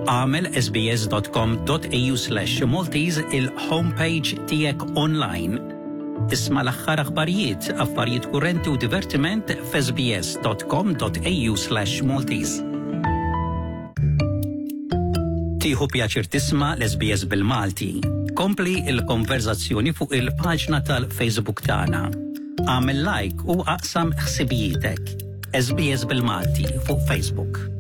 Agħmel sbs.com.au/maltese il-homepage tiegħek online. Isma' l-aħħar aħbarijiet, affarijiet kurrenti u divertiment f'sbs.com.au/maltese. Tieħu pjaċir tisma' l-SBS bil-Malti. Kompli il-konverzazzjoni fuq il-paġna tal-Facebook tagħna. Agħmel like u aqsam ħsibijietek. SBS bil-Malti fuq Facebook.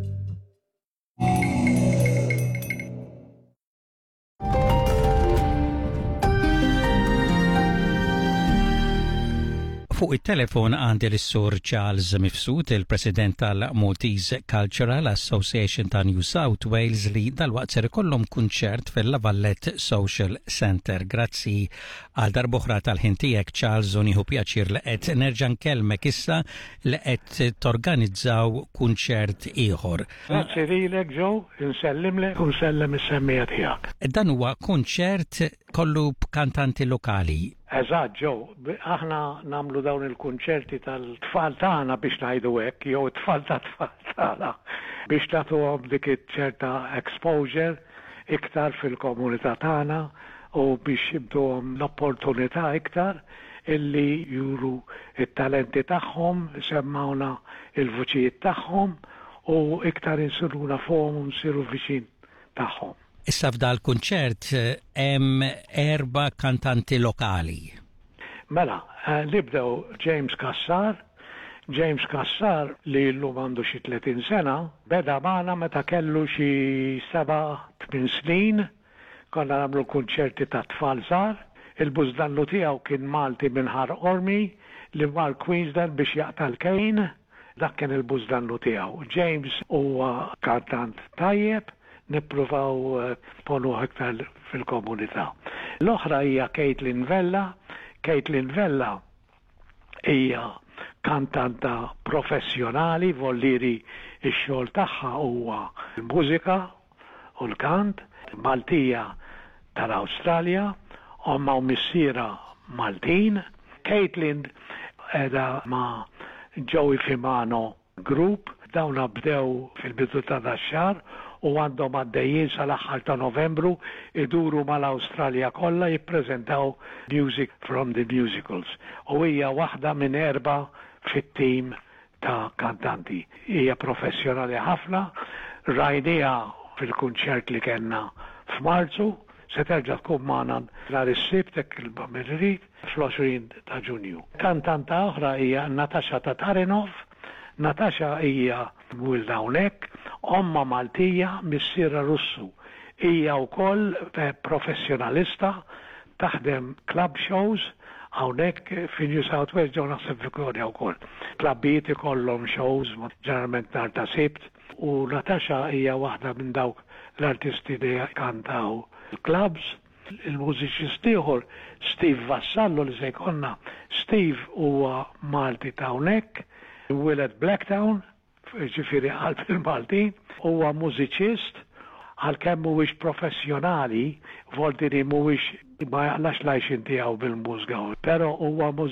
Fuq it-telefon għandi l-Sur Charles Mifsud, il-President tal-Maltese Cultural Association ta' New South Wales li dalwaqt ser ikollhom kunċert fil-Lavallet Social Center. Grazzi għal darboħra tal-ħin tiegħek Charles u nieħu pjaċir li qed nerġa' nkellmek issa li qed torganizzaw kunċert ieħor. Grazzi lilek Joe, insellimlek u nsellem is-semmiegħa tiegħek. Dan huwa kunċert kollu b'kantanti lokali. Eżatt Joe, aħna nagħmlu dawn il-kunċerti tal-tfal tagħna biex ngħidu hekk, jew it-tfal tat-tfal tagħna biex nagħtuhom dik iċ-ċerta exposure iktar fil-komunità tagħna u biex intuhom l-opportunità iktar illi juru t-talenti tagħhom, isemmgħuna l-vuċijiet tagħhom u iktar insiru nafuhom u nsiru viċin tagħhom. Issa f'dal-kunċert hemm erba' kantanti lokali. Mela, nibdew James Cassar. James Cassar, li llum għandu xi 30 sena, beda magħna meta kellu xi seba', tmien snin. Konna nagħmlu kunċerti tat-tfal żgħar. Il-bużnannu tiegħu kien Malti minn Ħar Qormi li mar Queensland biex jaqta' l-kejn. Dak kien il-bużnannu tiegħu. James huwa kantant tajjeb, nippruvaw nponuh iktar fil-komunità. L-oħra hija Caitlin Vella. Caitlin Vella hija kantanta professjonali, vollieri x-xogħol tagħha huwa l-mużika u l-kant, Maltija tal-Awstralja, ommha u missierha Maltin. Caitlin qiegħda ma' Joey Fimano Group, dawna bdew fil-bidu ta' dax-xahar u għandhom għaddejjin sal-aħħar ta' Novembru iduru mal-Awstralja kollha jippreżentaw Music from the Musicals u hija waħda minn erbgħa fit-tim ta' kantanti. Hija professjonali ħafna, rajniha fil-kunċert li kellna f'Marzu, se terġa' tkun magħna nhar is-Sibt hekk il-Bambin irid, fl-20 ta' Ġunju. Kantanta oħra hija Natasha Tatarinov. Natasha hija mwielda hawnhekk, ommha Maltija, missierha Russu. Hija wkoll professjonalista, taħdem club shows hawnhekk fi New South Wales ġew naħseb Victoria wkoll. Klabbijiet ikollhom shows ġeneralment nhar ta' Sibt u Natasha hija waħda minn dawk l-artisti li jkantaw il-clubs. Il-mużiċist ieħor Steve Vassallo li se jkollna, Steve huwa Malti ta' hawnhekk, imwieled Blacktown, jiġifieri qalb il-Maltin, huwa mużiċist għalkemm mhuwiex professjonali, voltini mhuwiex ma jaqlax l-għajxien tiegħu bil-mużika, però huwa.